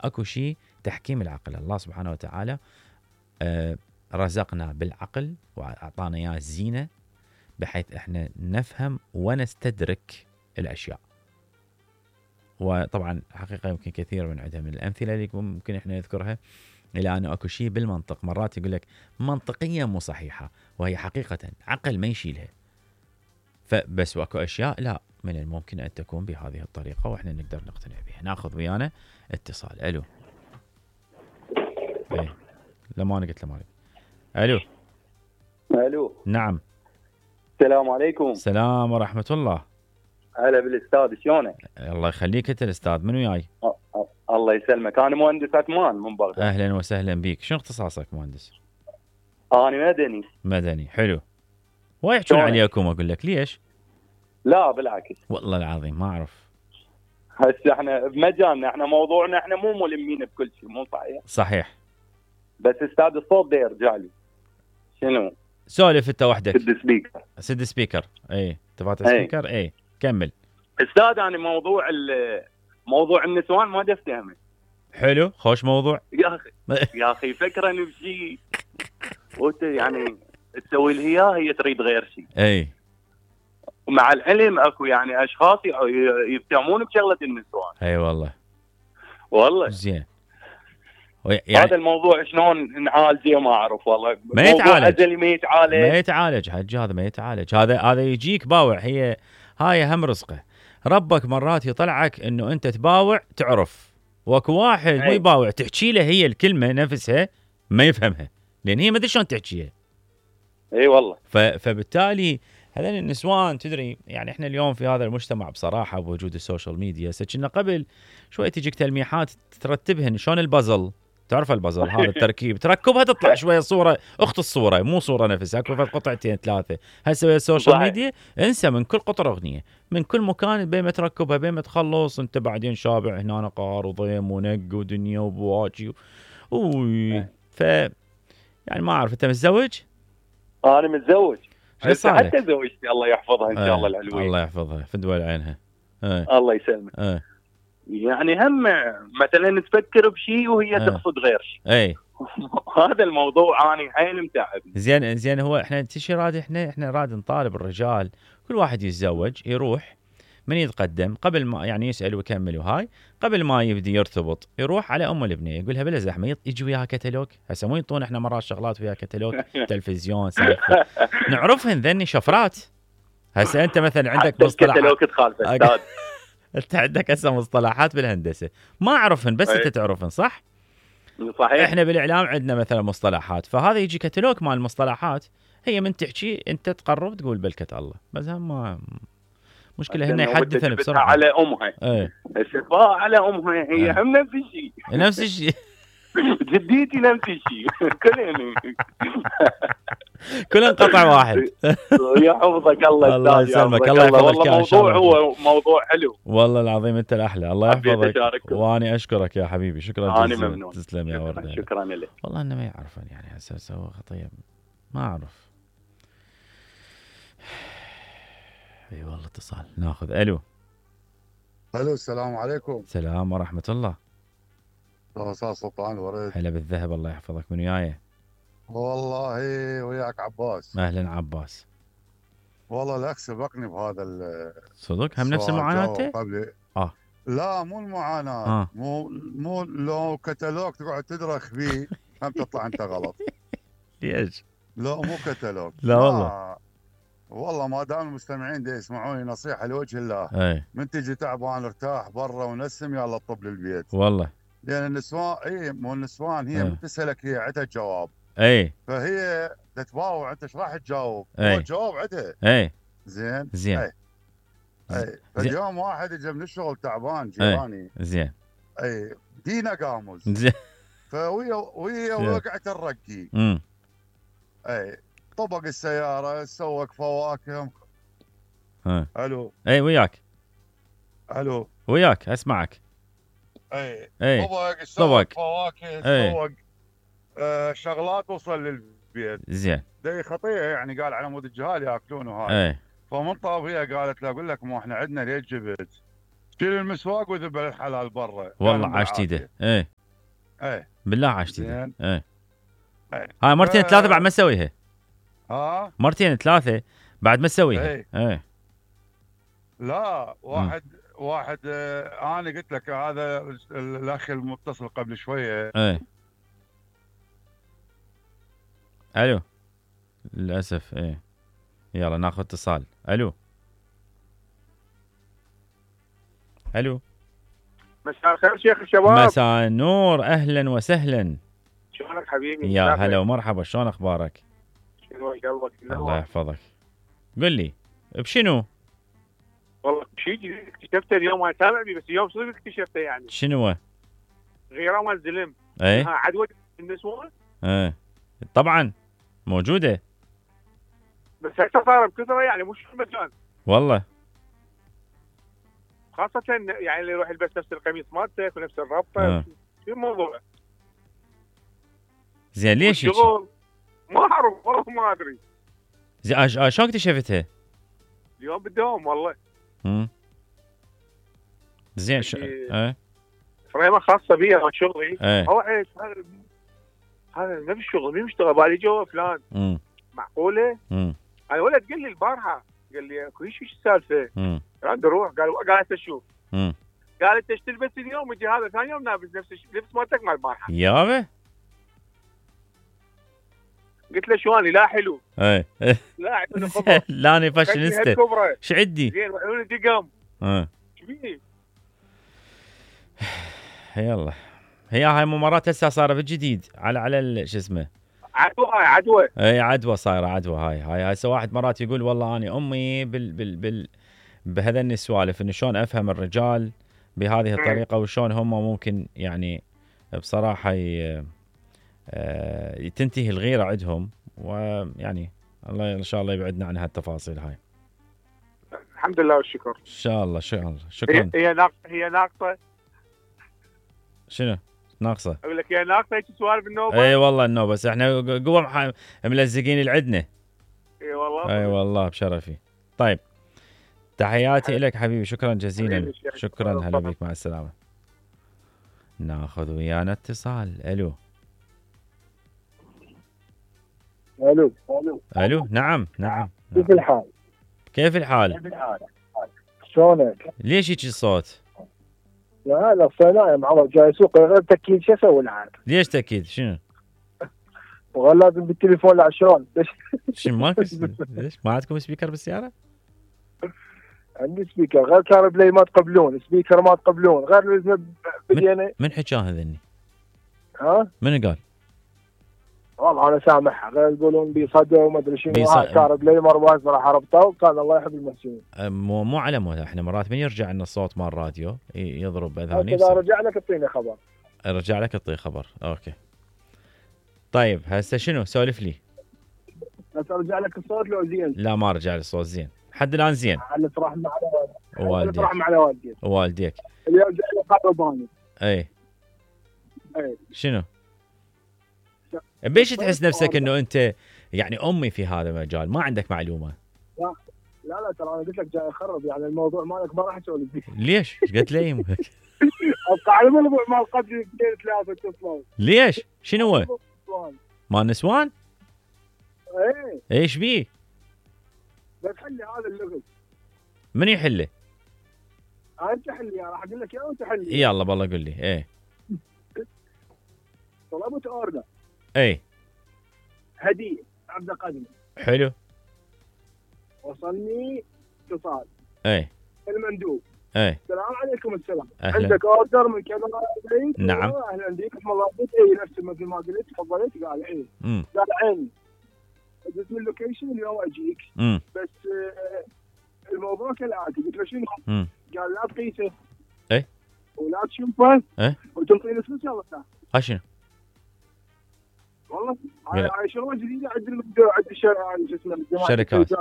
اكو شيء تحكيم العقل. الله سبحانه وتعالى رزقنا بالعقل واعطانا اياه الزينه بحيث احنا نفهم ونستدرك الاشياء. وطبعا حقيقه يمكن كثير من عندها من الامثله اللي ممكن احنا نذكرها، الى انه اكو شيء بالمنطق مرات يقول لك منطقيا مو صحيحه وهي حقيقه عقل ما يشيلها. فبس واكو اشياء لا من الممكن ان تكون بهذه الطريقه واحنا نقدر نقتنع بها. ناخذ ويانا اتصال. الو. ايه لما انا قلت له مالك. الو. الو. نعم. السلام عليكم. السلام ورحمه الله. هلا بالاستاذ، شلونك؟ الله يخليك. انت الاستاذ منو جاي؟ الله يسلمك، انا مهندس عثمان من بغداد. اهلا وسهلا بك. شنو اختصاصك مهندس؟ انا مدني. مدني، حلو. ويحجون عليكم اقول لك ليش؟ لا بالعكس والله العظيم ما اعرف. هسه احنا بمجالنا، احنا موضوعنا احنا مو ملمين بكل شيء، مو صحيح؟ صحيح. بس استاذ الصوت ده يرجع لي. شنو؟ سولف انت وحدك. سد سبيكر. سد سبيكر. اي تفاتح سبيكر. اي كمل. استاذ انا موضوع النسوان ما افتهمه. حلو، خوش موضوع. يا اخي فكرني بشيء وانت يعني تسوي لها هي تريد غير شيء. اي ومع العلم اكو يعني اشخاص يفتهمون بشغله النسوان. اي والله زين. يعني هذا الموضوع شلون نعالجه ما اعرف والله. ما يتعالج. ما يتعالج حج، هذا ما يتعالج. هذا يجيك باوع. هاي هم رزقه. ربك مرات يطلعك انه انت تباوع تعرف، واكو واحد مو يباوع تحكي له هي الكلمه نفسها ما يفهمها لان هي ما ادري شلون تحكيها. اي والله. فبالتالي هذول النسوان تدري يعني احنا اليوم في هذا المجتمع بصراحه بوجود السوشيال ميديا، كنا قبل شوي تجيك تلميحات ترتبهن شلون البازل. تعرف البازل هذا التركيب تركبها تطلع شويه صوره اخت الصوره مو صوره نفسها، اكو قطعتين ثلاثه. هسه ويا السوشيال ميديا انسى من كل قطره اغنيه من كل مكان بين ما تركبها بين ما تخلص انت بعدين شابع هنا قار وضيم ونق ودنيا وبواجي يعني ما اعرف. انت متزوج؟ انا متزوج. حتى زوجتي الله يحفظها ان شاء الله العلوية. الله يحفظها في دول عينها. الله يسلمك. يعني هم مثلا تفكر بشيء وهي تقصد غير شيء. اي هذا الموضوع انا حيل متعبني. زين هو احنا تشي راد احنا راد نطالب الرجال كل واحد يتزوج يروح من يتقدم قبل ما يعني يسأل ويكمل وهاي قبل ما يبدي يرتبط يروح على ام البنيه يقولها بلا زحمه يجي وياها كتالوج. هسه مو ينطون احنا مرات شغلات وياها كتالوج تلفزيون سالفه نعرفهن ذني شفرات. هسه انت مثلا عندك مصطلحات كتالوج تخالف استاذ. انت عندك هسه مصطلحات بالهندسه ما اعرفهن بس انت تعرفهن صح؟ صحيح. احنا بالاعلام عندنا مثلا مصطلحات فهذا يجي كتالوج مال المصطلحات. هي من تحكي انت تقرب تقول بلكة الله بس هم مشكله هن يحدثن بسرعه على امها. الشفاء على امها هي هم نفس الشيء جديتي نفس الشيء كلن قطع واحد. يحفظك الله. الله يسلمك. الله يحفظك. الموضوع هو موضوع حلو والله العظيم. انت الاحلى. الله يحفظك واني اشكرك يا حبيبي. شكرا جزيلا. انا ممنون. تسلم يا ورده. شكرا لك. والله انه ما يعرفن يعني هسه سوى خطيه ما اعرف. اي والله اتصال ناخذ. الو. السلام عليكم. السلام ورحمه الله. استاذ سلطان ورد. هلا بالذهب. الله يحفظك. من وياي؟ والله وياك عباس. اهلا عباس. والله الاخ سبقني بهذا صدق هم نفس المعاناه قبل. لا مو المعاناه. مو لو كتالوج تقعد تدرخ فيه هم تطلع انت غلط. ليش؟ لا مو كتالوج. لا والله ما دام المستمعين دي يسمعوني نصيحه لوجه الله. من تجي تعبان ارتاح برا ونسم يلا طب للبيت. والله لان النسوان مو النسوان هي من تسالك هي عندها جواب. فهي تتباوع انت ايش راح تجاوب؟ هو الجواب عندها. زين. اليوم واحد اجى من الشغل تعبان جيراني. زين. دينا قاموس. زين. وهي وقعت الرقي. طبق السياره سوق فواكه. الو. وياك. الو. وياك اسمعك. طبق سوق فواكه سوق شغلات وصل للبيت. زين. دي خطيه يعني قال على مود الجهال ياكلون وهاي. فمن طابيه قالت له اقول لك مو احنا عندنا ليش جبت؟ شيل المسواق وذبل الحلال برا. والله عاشت ايده. ايه بالله عاشت ايه هاي مرتين ثلاثه بعد ما تسويها. مرتين ثلاثه بعد ما تسويها. ايه لا واحد انا قلت لك هذا الاخ المتصل قبل شويه. ايه الو للاسف. ايه يلا ناخذ اتصال. الو مساء الخير شيخ الشباب. مساء النور، اهلا وسهلا. شلونك حبيبي؟ يا هلا ومرحبا، شلون اخبارك؟ شنو قلبك؟ الله يحفظك. قل لي بشنو؟ والله شيء جديد اكتشفته اليوم، انا سامع بيه بس اليوم صدق اكتشفته. يعني شنو؟ غيره مال زلم. ايه عدوى النسوان. ايه طبعا موجوده، بس هسه صار بكثره يعني مش في المكان والله. خاصة يعني اللي يروح يلبس نفس القميص مالتك ونفس الربطة. شو الموضوع؟ زين ليش الشغل؟ ما اعرف والله، ما ادري. زين شلون اكتشفتها؟ اليوم بالدوام والله. زين فريمة خاصة بي انا شغلي. اوعي هذا نفس الشغل مين مشتغل بالي جوا فلان. معقولة؟ انا ولد قال لي البارحة، قال لي اكو شيء السالفة؟ قال اروح، قال انت شوف. قال انت ايش تلبس اليوم؟ يجي هذا ثاني يوم لابس نفس اللبس مالتك مال البارحة. يابا قلت له شو اني لا حلو. ايه لا اعطيني خبر. لا انا فاشينيستا. ايش عندي؟ زين وعيوني دقم. شو بيه؟ يلا هي هاي ممارات هسه صايره بالجديد على شو اسمه عدوى. اي عدوى صايره عدوى. هاي هسه واحد مرات يقول والله اني امي بهذا السوالف، انه شلون افهم الرجال بهذه الطريقه وشلون هم ممكن يعني بصراحه تنتهي الغيره عندهم، ويعني الله ان شاء الله يبعدنا عن هالتفاصيل هاي. الحمد لله والشكر. ان شاء الله شكرا. هي ناقصه. شنو ناقصه؟ اقول لك هي ناقصه هيك سوالف النوبه. اي والله النوبه، بس احنا قوه ملزقين اللي عندنا. اي والله. اي والله بشرفي. طيب تحياتي لك حبيبي، شكرا جزيلا. شكرا، هلا بك، مع السلامه. ناخذ ويانا اتصال. الو نعم. كيف الحال؟ كيف الحال؟ شلونك؟ ليش هيك الصوت؟ لا هذا صناعي معود جاي سوق غير تاكيد. شو اسوي العاد؟ ليش تاكيد؟ شنو؟ والله لازم بالتليفون عشان شنو ماكو؟ ليش ما عندكم سبيكر بالسياره؟ عندي سبيكر غير كار بلاي ما تقبلون، سبيكر ما تقبلون، غير بدينا. من حكاه هذني؟ ها؟ من قال؟ والله انا سامعها غير يقولون بيصدوا وما ادري شنو. كار بلاي مره راح ربطه، وكان الله يحب المحسنين. مو على مود احنا مرات من يرجع لنا الصوت مال الراديو يضرب باذاني. اذا رجع لك اعطيني خبر. ارجع لك اعطيه خبر. اوكي طيب هسه شنو سولف لي؟ بس ارجع لك الصوت لو زين؟ لا ما رجع لي الصوت زين لحد الان. زين على ترحم على والديك. ترحم على والديك. اللي يرجع لي قرباني. اي شنو؟ بيش تحس نفسك انه انت يعني امي في هذا المجال؟ ما عندك معلومه؟ لا ترى انا قلت لك جاي اخرب يعني الموضوع مالك ما راح اسولف فيه. ليش؟ ايش قلت لي؟ ابقى على الموضوع مال قبل 2 3 اتصال. ليش؟ شنو هو؟ مال نسوان؟ ايه ايش بيه؟ بس حلي هذا اللغز. من يحله؟ انت حلي، راح اقول لك اياه وانت حلي. يلا بالله قل لي. طلبت اوردر. هديه عبد قدمي. حلو. وصلني اتصال. المندوب. السلام عليكم. السلام. عندك اوردر من كذا بيت؟ نعم. اهلا بك. اسم الله بيت. نفس مثل ما قلت تفضلت. قال قال عيني. اسم اللوكيشن اليوم اجيك. بس الموضوع كالاتي. قلت له شنو؟ قال لا تقيسه. ولا تشوفه. وتنطيني فلوس. يلا شنو؟ والله هاي شغله جديده عند الشركات.